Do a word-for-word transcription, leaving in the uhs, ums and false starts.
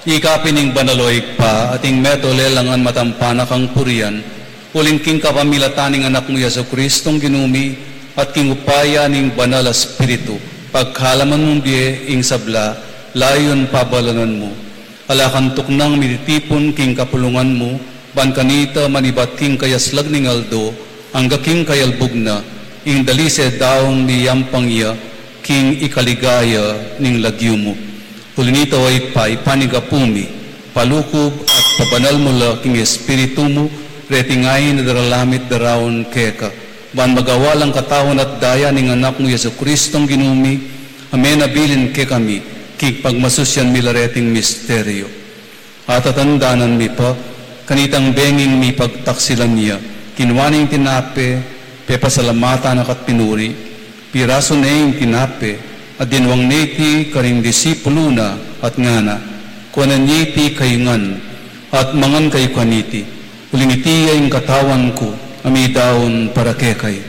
Ika pin ing banal, o Ibpa, at ing metung lelangan matampa na kang purian, uling king kapamilatan ning Anak mu, Jesucristong Ginu mi, at king upaya ning Banal a Espiritu, pagkalaman mung bie ing sabla, layun pabalanan mu. Ala kang tuknang mititipun king kapulungan mu, ban kanita manibat king kayaslag ning aldo, angga king kayalbug na, ing dalise daun miyampang ya, king ikaligaya ning lagyu mu. Uli nita, o Ibpa, ipanyawad mu mi, palukub at pabanal mu la king Espiritu mu, reting ain a daralamit daraun keka, ban magawa lang katawan at daya ning Anak mu, Jesucristong Ginu mi, a menabilin kekami, king pagmasusyan mi la reting misteryu. Atatandanan mi pa, kanitang benging mipagtaksilan ya, kinua ne ing tinape, pepasalamatan na ka't pinuri, pirasu ne ing tinape, at dinwang ne iti karing disipulu na, at ngana, kuanan ye iti kayu ngan, at mangan kayu kaniti, uling iti ya ing katawan ku, a midaun para kekayu.